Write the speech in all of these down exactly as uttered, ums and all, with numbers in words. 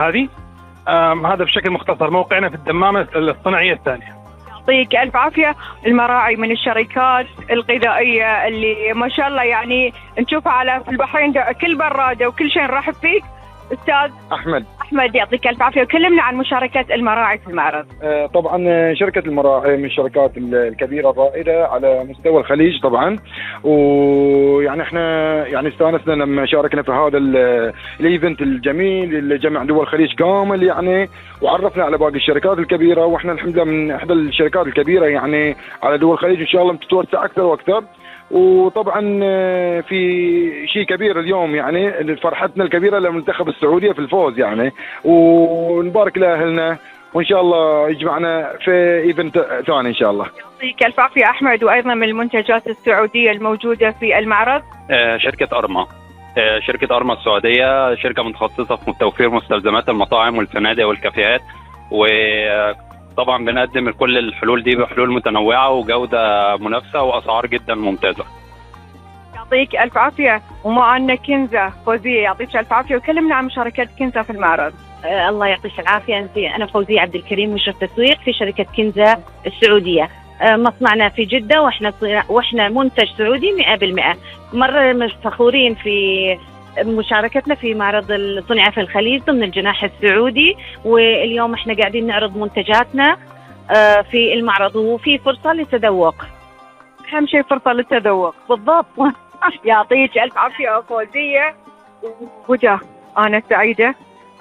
هذه هذا بشكل مختصر موقعنا في الدمامة الصناعية الثانية. يعطيك ألف عافية. المراعي من الشركات الغذائية اللي ما شاء الله يعني نشوفها على في البحرين كل برادة وكل شيء نرحب فيك أستاذ أحمد. أحمد يعطيك ألف عافية. وكلمنا عن مشاركة المراعي في المعرض. آه طبعا شركة المراعي من الشركات الكبيرة الرائدة على مستوى الخليج طبعا، ويعني احنا يعني استانسنا لما شاركنا في هذا الايفنت الجميل اللي جمع دول الخليج كامل يعني، وعرفنا على باقي الشركات الكبيرة، واحنا الحمد لله من احدى الشركات الكبيرة يعني على دول الخليج، ان شاء الله بتتوسع اكثر واكثر. وطبعا في شيء كبير اليوم يعني فرحتنا الكبيره للمنتخب السعوديه في الفوز يعني، ونبارك لاهلنا وان شاء الله يجمعنا في ايفنت ثاني ان شاء الله. يعطيك الف عافيه احمد. وايضا من المنتجات السعوديه الموجوده في المعرض شركه ارما. شركه ارما السعوديه شركه متخصصه في توفير مستلزمات المطاعم والفنادق والكافيهات، و طبعا بنقدم كل الحلول دي بحلول متنوعه وجوده منافسه واسعار جدا ممتازه. يعطيك الف عافيه. ومعنا كنزه فوزيه، يعطيك الف عافيه. وكلمنا عن مشاركه كنزه في المعرض. آه الله يعطيك العافيه. انا فوزيه عبد الكريم، مشرف تسويق في شركه كنزه السعوديه. آه مصنعنا في جده، واحنا واحنا منتج سعودي مئة بالمئة. مره فخورين في مشاركتنا في معرض الصناعة في الخليج ضمن الجناح السعودي، واليوم احنا قاعدين نعرض منتجاتنا في المعرض، وفي فرصة للتذوق. أهم شيء فرصة للتذوق. بالضبط. يعطيك ألف عافية فوزية. وجه أنا سعيدة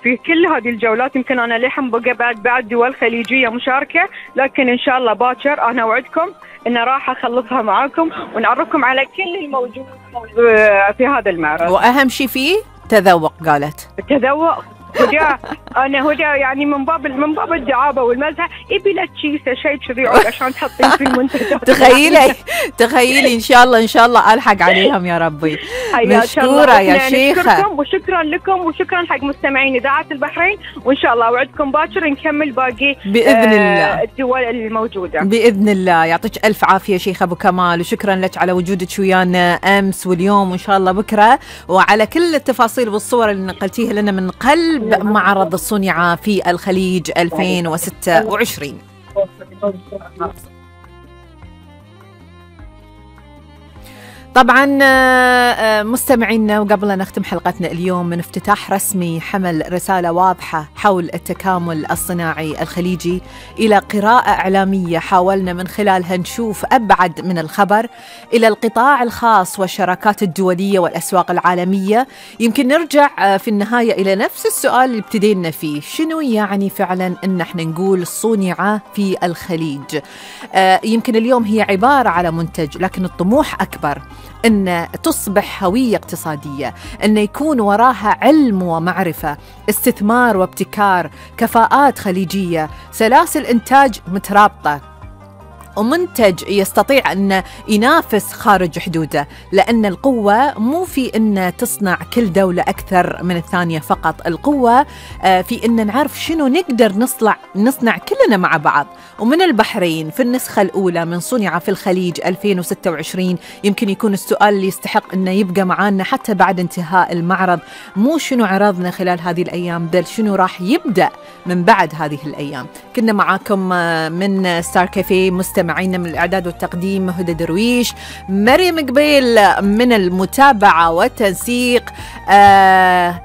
في كل هذه الجولات. يمكن أنا لحم بقى بعد بعد دول خليجية مشاركة، لكن إن شاء الله باكر أنا وعدكم إن راح أخلصها معاكم ونعرفكم على كل الموجود في هذا المعرض. وأهم شيء فيه تذوق. قالت التذوق. هدى انا هدى يعني من باب من باب الدعابه والمزح يبي لك كيسه شيء كذي عشان تحطين في المنتجات. تخيلي تخيلي ان شاء الله ان شاء الله الحق عليهم يا ربي. مشكوره يا شيخه. وشكرا لكم وشكرا حق مستمعين اذاعه البحرين، وان شاء الله اوعدكم باكر نكمل باقي باذن الله الدول الموجوده باذن الله. يعطيك الف عافيه شيخه ابو كمال، وشكرا لك على وجودك ويانا امس واليوم وان شاء الله بكره، وعلى كل التفاصيل والصور اللي نقلتيها لنا من قلب معرض الصنعة في الخليج ألفين وستة وعشرين. طبعا مستمعينا، وقبل أن نختم حلقتنا اليوم من افتتاح رسمي حمل رسالة واضحة حول التكامل الصناعي الخليجي إلى قراءة إعلامية حاولنا من خلالها نشوف أبعد من الخبر إلى القطاع الخاص والشراكات الدولية والأسواق العالمية. يمكن نرجع في النهاية إلى نفس السؤال اللي ابتدينا فيه، شنو يعني فعلا أن احنا نقول صنع في الخليج؟ يمكن اليوم هي عبارة على منتج، لكن الطموح أكبر، أن تصبح هوية اقتصادية، أن يكون وراها علم ومعرفة، استثمار وابتكار، كفاءات خليجية، سلاسل إنتاج مترابطة، ومنتج يستطيع أن ينافس خارج حدوده. لأن القوة مو في أن تصنع كل دولة أكثر من الثانية فقط، القوة في أن نعرف شنو نقدر نصنع نصنع كلنا مع بعض. ومن البحرين في النسخة الأولى من صنع في الخليج ألفين وستة وعشرين يمكن يكون السؤال اللي يستحق أنه يبقى معانا حتى بعد انتهاء المعرض، مو شنو عرضنا خلال هذه الأيام، بل شنو راح يبدأ من بعد هذه الأيام. كنا معاكم من ستار كافيه مستمعين من الإعداد والتقديم هدى درويش، مريم قبيل من المتابعة والتنسيق، آه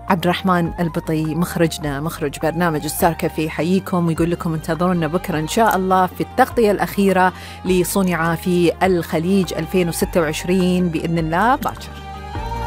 عبد الرحمن البطي مخرجنا مخرج برنامج ستار كافيه، حييكم ويقول لكم انتظرونا بكرة إن شاء الله في التغطية الأخيرة لصنع في الخليج ألفين وستة وعشرين بإذن الله باكر.